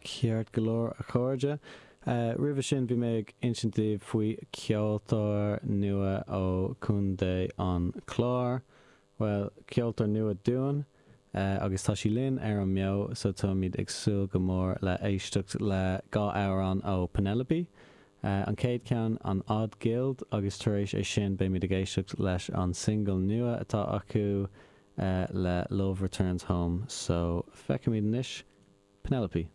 Ceart go leor, a chairde. Roimhe sin bhí mé ag insint daoibh faoi cheoltóir nua ó Chontae an Chláir. Bhuel, ceoltóir nua dúinn agus tá sí linn ar an mBeo so táimid ag súil go mór le éisteacht le dhá amhrán ó Penelope. An chéad cheann an Odd Guild agus tar éis é sin beimid ag éisteacht leis an single nua atá acu le Love Returns Home. So feicfimid anois Penelope.